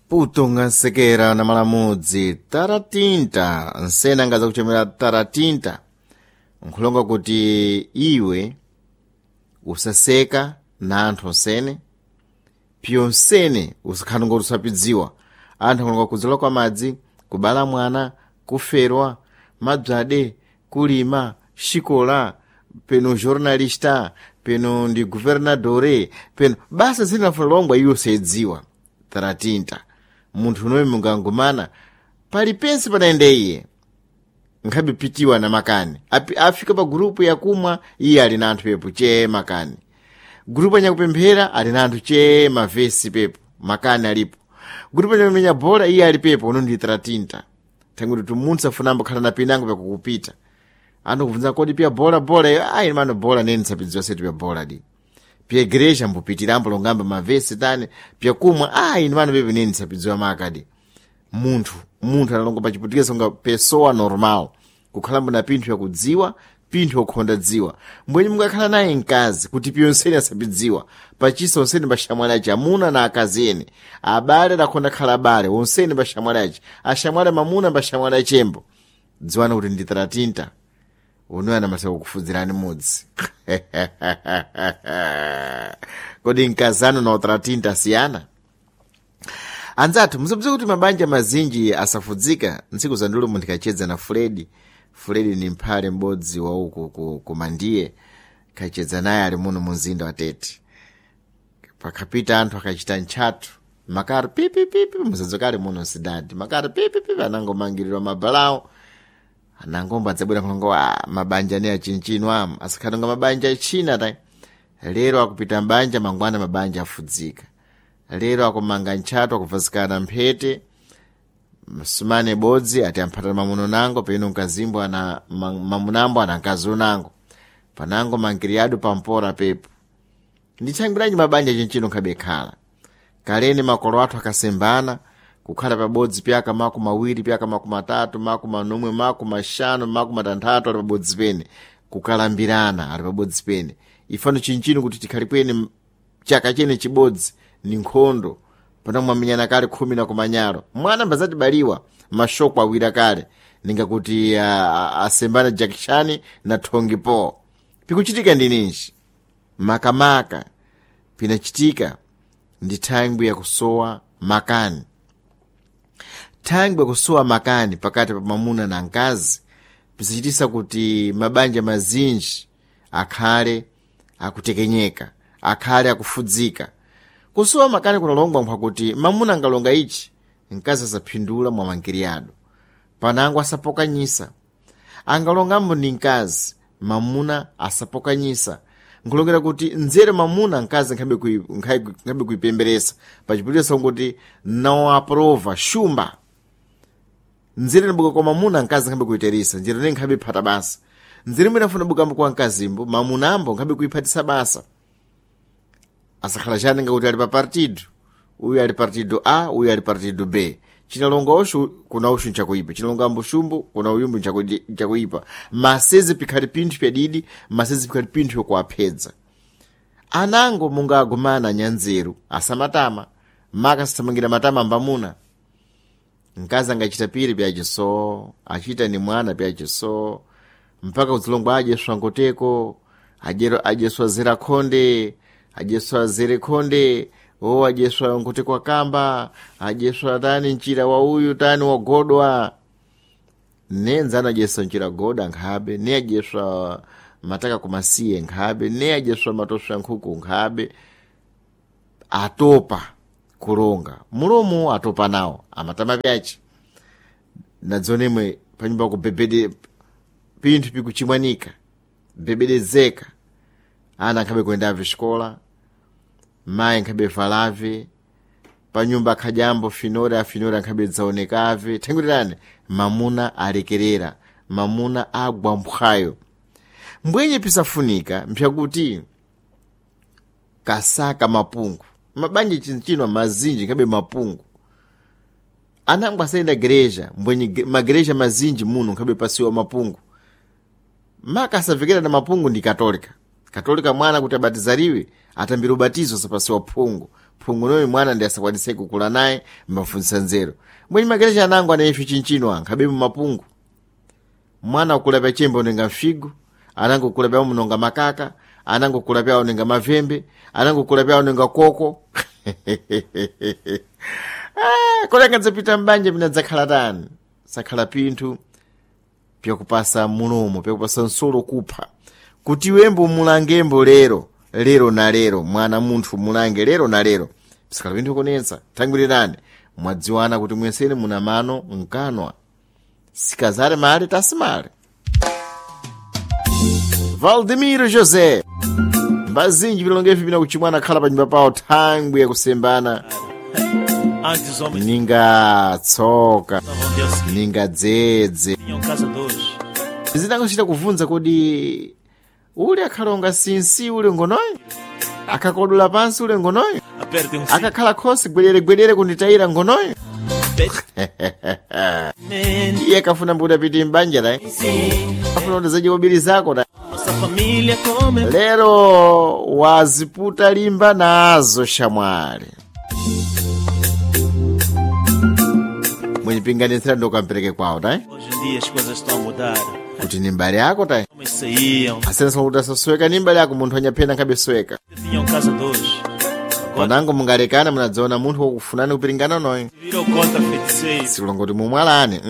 Putunga nsekera na malamudzi taratinta nsena angaza kuchomera taratinta nkhulonga kuti iwe usaseka na anthu onsene piyo nsene usakhala ngoti usapidziwa. Anthu akulonga kudzala kwa madzi, kubala mwana, kuferwa mabzade, kulima xikola, peno jornalista, peno ndi guvernadore, peno basa zinafuna iwe usayidziwa. Taratinta munthu unoyo mungangumana palipense panaende iye nkhabe pitiwa na makani. Afika pa gurupu yakumwa iye ali na anthu pepo chee makani, gurupu anyakupemphera ali na anthu chee mavesi pepo makani alipo, gurupu anyamenya bola iye ali pepo. Uno ndi taratinta thanguti tumunthu afunambo khala na pinango pakukupita anthu kubvunza kodi piya bola bola iyo ayi mano bola nene nsapidziwa setu pya bola di pya igreja mbupitirambo longamba mavesi tani pyakumwa ayi mano pepe nene nsapidziwa makadi. Munthu analonga pachiputikisa nga pessoa normal kukhalambo na pinthu yakudziwa, pinthu yokhonda dziwa. Mbwenye mungakhala naye mkazi kuti piyo nsene asapidziwa pachisa onsene paxamwali aci amuna na akazi ene abale adakhonda khala abale onsene paxamwali aci axamwali mamuna paxamwali achembo dziwani kuti ndi taratinta unoyo anamaseka kufudzirani mudzi. Kodi mkazano na utaratinta asiyana? Anzathu musadziwe kuti mabanja mazinji asafudzika. Ntsiku za ndulumu ndikachedza na Fredi. Fredi ni mphale m'bodzi wa uku kumandiye kachedza naye ali muno mu mzinda wa Tete. Pakhapita anthu akachita ntchatu makaro pipipipi musadzokale muno msidadi makaro pipipipi anangomangirirwa mabalawo anangomba adzabwera nkhongo wa mabanja ne achinchino amu asakhala nga mabanja achina ta. Lero akupita mbanja mangwana mabanja afudzika. Lero akumanga ntchato akuvazikana mphete msumane bodzi ati amphatana mamuno nango peno mkazimbo ana mamunambo ana mkazi unango panango mangiriyadu pampora pepo. Ndithangiranji mabanja chinchino nkhabe khala kaleni makolo athu akasembana kukhala pabodzi pyaka 20 pyaka 30 40 50 60 ali pabodzi pene kukalambirana ali pabodzi pene. Ifano chinchino kuti tikhale pene chaka chene chibodzi ni nkhondo pano mwamenyana kale 10 na kumanyalo mwana mbazatibaliwa mashoko awira kale ningakuti asembana jakishani na thongi po pikuchitika ndi ninji makamaka pinachitika ndi thangwi yakusowa makani. Thangwi yakusowa makani pakati pa mwamuna na mkazi pisachitisa kuti mabanja mazinji akhale akutekenyeka, akhale akufudzika. Kusowa makani kunalongwa nkwakuti mamuna angalonga ichi mkazi asaphindula mwa mangiriyado panango asapokanyisa. Angalongambo ndi mkazi mamuna asapokanyisa nkulongera kuti nzere mamuna mkazi nkhabe kuipemberesa pachiputisa kuti nawo aprova shumba nzere nabuka kwa mamuna mkazi nkhabe kuiterisa njere ne nkhabe phata basa nzere mwina afuna bukambo kwa mkazimbo mamunambo nkhabe kuiphatisa basa asakhala chani ngakuti ali pa partido uyu ali partido A uyu ali partido B chinalonga ushu kuna ushu nchakuipa chinalonga ambo shumbu kuna uyumbu nchakuipa masezi pikhali pinthu pyadidi masezi pikhali pinthu yokuwaphedza anango munga agumana anyanzeru asamatama maka asathamangira matama ambamuna. Mkazi angachita piri pyachiso achita ni mwana pyachiso mpaka kudzilongwa adyeswa ngoteko adyeswa zera khonde adyeswa zere khonde o adyeswa ngoteko akamba adyeswa tani mchira wa uyu tani wagodwa nenzana adyeswa mchira goda nkhabe ne adyeswa mataka kumasiye nkhabe ne adyeswa matoswa nkhuku nkhabe atopa kulonga mulomo atopa nawo amatama pyachi nadzonemwe panyumba kubebede pinthu pikuchimwanika bebedezeka ana nkhabe kuendave xikola mayi nkhabe valave panyumba akhajambo finora afinora nkhabe dzaonekave thangutirani mamuna alekerera mamuna agwa mphwayo. Mbwenye pisafunika mpyakuti kasaka mapungu mabanja chinchino mazinji nkhabe mapungu anango asayenda gereja mbwenye magereja mazinji muno nkhabe pasiwa mapungu maka asavekera na mapungu ndi katolika katolika mwana kuti abatizariwe atambira ubatizo sapasiwa phungu. Phungunoyo mwana ndi asakwanise kukula naye mbafunsa nzeru. Mwenye magereja anango anayefe chinchino ankhabe mumapungu. Mwana ukula pya chembe unenga mfigo, anango kula pya munonga makaka, anango kula pya unenga mavembe, anango kula pya unenga koko. Ah, kodi angadzapita mbanja pinadzakhala tani? Sakhala pinthu pyakupasa mulomo, pyakupasa nsolo kupha. Kuti wembo mulangembo lero, lero na lero, mwana munthu mulange lero na lero. Sikhala pinthu konetsa, thangwirirani. Mwadziwana kuti mwenseni muna mano mkanwa. Sikazare male tasimale. Valdemiro José. Mbazinji vilongevi pina kuchimwana khala pa nyumba pawo thangwi yakusembana. Antes os homens Ninga tsoka, estavam de auxílio, ninga dzedze. tinham caçadores. Zinangochita kuvunza kodi ule akhalonga sinsi ule ngonoyo? Akakodula pansi ule ngonoyo? Apertem um cinto. Akakhala khosi gwerere-gwerere kunditayira ngonoyo? Men, Iye akafuna mbuti apite m'banja layi. Afuna kuti zadye kobiri zako ta. Nossa família come. Lero waziputa limba nazo shamwali. Mwenyipinganitsira ndokampereke kwawo tayi. Hoje em dia as coisas estão a mudar. Kuti ni mbali yako tayi. Homens saíam, Asenso kuti asasweka ni mbali yako munthu anyaphena nkhabe sweka. tinham caçadores. Agora Panango mungalekana munadziona munthu wokufunani kupiringana noyo. virou contra feiticeiro. Sikulonga kuti mumwalani.